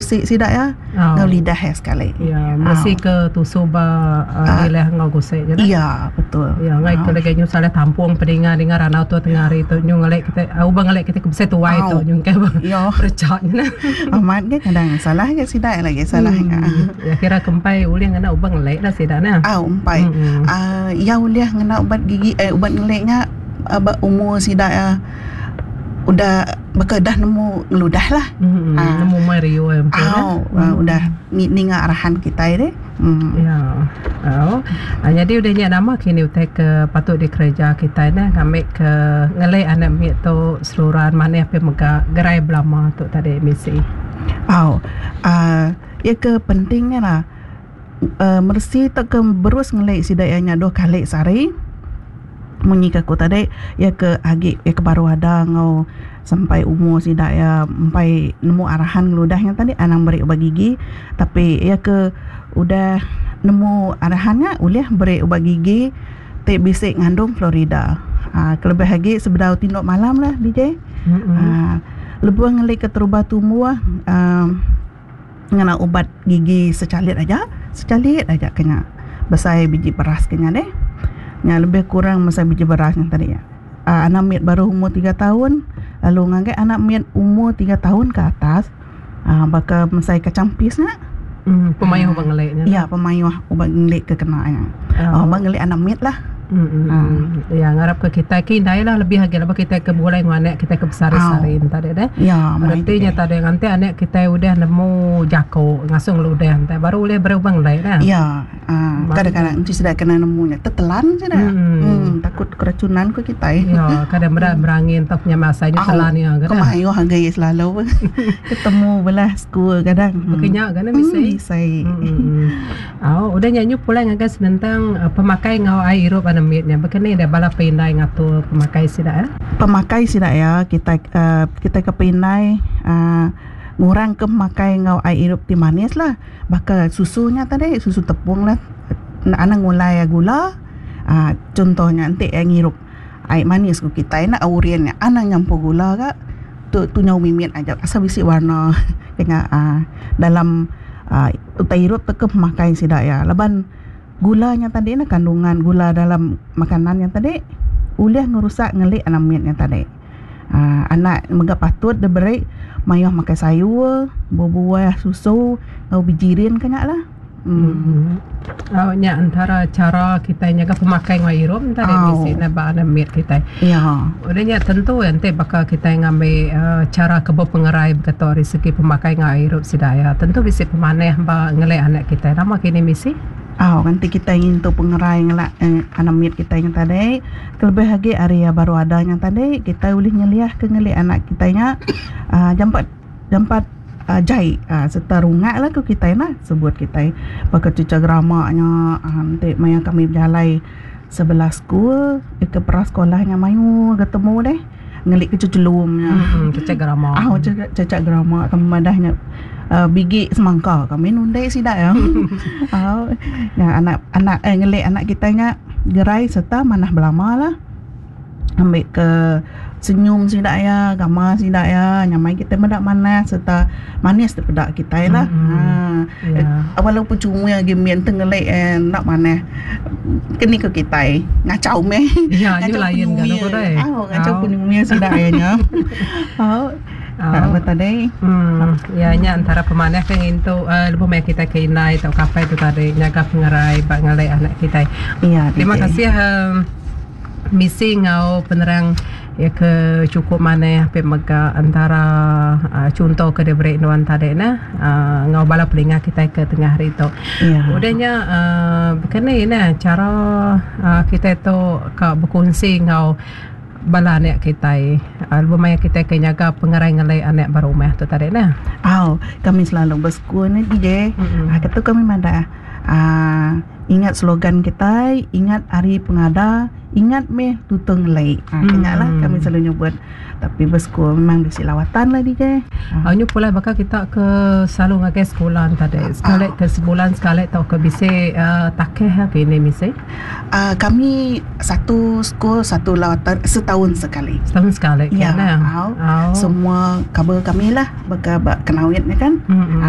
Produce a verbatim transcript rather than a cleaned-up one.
Gusi sida iya enggau Oh. lidah iya sekali. Ya, meresi Au. ke tusu ba uh, Ah, lidah enggau gusi nya dah. Iya, betul. Ya, ngai ke Au. lagi nyu salah tampung pedinga dengar ranau tu tengah hari tu nyu ngelek kita au bang ngelek kita ke besai tuai tu Au. nyu ke Yo. perecak nya nah. Amat ke kadang salah ke sida lagi salah Hmm. Ya kira kempai ulih ngena ubat ngelek lah sida nah. Au empai. Hmm. Ah, ya ulih ngena ubat gigi eh ubat ngelek nya uh, ba umur sida uh, udah baka dah nemu ngeludah lah. Hmm. Ah. Nemu mai rio ya betul Au, uh, udah ni- ninga arahan kita deh. Hmm. Ya. Oh. Ah, jadi udah nya nama kini utai ke patut dikereja kita nah ngambil ke ngelek anak mit tu seluran mana apa mega gerai belama tu tadi misi. Au. Uh, ya ke pentingnya lah uh, mersi tak ke berus ngelek sida ya nya dua kali sehari. Munyi ke aku tadi ya ke agi ya ke baru ada ngau sampai umur sida ya empai nemu arahan ngeludahnya tadi anang beri ubat gigi, tapi ya ke udah nemu arahannya ulih beri ubat gigi ti bisik ngandung fluorida. Ah, kelebih lagi sebedau tinduk malam lah D J. Hmm. Ah, lebuh ngelik ke terubah tumbuh uh, ngena ubat gigi secalit aja, secalit aja kena besai biji beras kena deh. Nya lebih kurang besai biji beras yang tadi ya. Uh, anak mit baru umur tiga tahun, lalu ngagai anak mit umur tiga tahun ke atas, uh, bakal mesai kacang pis nya. Hmm, pemayuh ubat ngelek nya. Ya, pemayuh ubat ngelik ke kena nya. Oh. Oh, ubat ngelik anak mit lah. Hmm. Ah. Ya, ngarap ke kita ke indai lah lebih lagi lah kita ke boleh anak kita ke besar-besarin tadi deh. Ya, mai Artinya deh. tadi nanti anak kita udah nemu jako ngasung lu udah nanti baru boleh berubah ngelek dah. Ya, uh, kadang-kadang nanti sudah kena nemunya tetelan sudah. Hmm. Hmm, takut keracunan ke kita. Eh. Ya, kadang berat berangin tak punya masanya Au, telan ya kan. Kemayu harga selalu ketemu belah school kadang. Hmm. Bekenyak kan Hmm, bisa. bisa. Hmm. Oh, udah nyanyi pulang ngagai senentang uh, pemakai ngau air irup anak mitnya. Bekeni dah bala pindai ngatur pemakai sida ya. Pemakai sida ya kita uh, kita ke pindai uh, ngurang ke makai ngau air irup ti manis lah. Bakal susunya tadi susu tepung lah. Anak ngulai gula. Uh, contohnya nanti yang ngirup air manis ku kita nak aurian anak nyampur gula kak tu tu nyau mimit aja asal bisi warna kena uh, dalam uh, utai irup te ke pemakai sida ya, laban gulanya tadi na kandungan gula dalam makanan yang tadi ulih ngerusak ngelik anak mitnya tadi. Uh, anak mega patut diberi mayuh makan sayur, buah-buah, susu, ngau bijirin kena lah. Hmm. Hmm. Oh, nya antara cara kita nyaga pemakai ngau irup tadi Au. misi na ba anak mit kita. Ya. Udahnya tentu nanti bakal kita ngambil uh, cara kebo pengerai berkata dari segi pemakai ngau irup sidaya. Tentu bisa pemaneh ba ngelek anak kita. Nama kini misi? Oh, nanti kita ingin tu pengerai ngelak eh, anak mit kita yang tadi. Kelebih lagi area baru adanya tadi, kita boleh nyeliah ke ngelik anak kita nya uh, jampat jampat uh, jai uh, serta rungak lah ke kita nah sebut kita pakai cuca geramaknya. uh, nanti maya kami berjalai sebelah school eh, ke prasekolahnya mayu ketemu deh ngelik ke cecelumnya. Hmm, cecek gerama. Ah, cecak cecak geramak kami madahnya uh, bigi semangka kami nundai sidak ya. Oh, ya anak anak eh, ngelik anak kita nya gerai serta manah belama lah. Ambil ke senyum sidak ya, gama sidak ya, nyamai kita mendak mana serta manis daripada kita lah. Mm-mm. Ha. Ya. Walaupun cuma yang gimian tenggelek eh, nak mana kini ke kita ngacau meh. Ya, nyu lain kan aku deh. Ah, ngacau penyumia sidak ya nya. Oh. Tak apa tadi. Hmm, ya nya antara pemanah kan itu uh, lebih banyak kita ke inai atau kapai itu tadi nyaga pengerai bak ngalai anak kita. Iya, Terima D J. kasih um, misi ngau penerang ya ke cukup mana pe mega antara uh, contoh ke diberi nuan tadi nah uh, ngau bala pelinga kita ke tengah hari tu. Iya. Udahnya uh, berkenai nah cara uh, kita tu ka berkongsi ngau bala anak kita uh, lebih banyak kita ke nyaga pengerai ngalai anak baru meh tu tadi nah. Oh, kami selalu bersekul ni D J. Mm-mm. Ah, kata kami mana ah, ingat slogan kita, ingat hari pengada, ingat meh tutung lei. Ah, Hmm. lah kami selalu nyebut. Tapi bersekul memang bisi lawatan lah D J. Ah. Nyu pula bakal kita ke selalu ngagai sekolah tadi. Sekali ke sebulan sekali atau ke bisa uh, takeh ke ini misi. Ah, kami satu school satu lawatan setahun sekali. Setahun sekali Ya, kan? au. Oh. Semua kabar kami lah bakal bak kenawit ni kan. Mm-mm. Ah,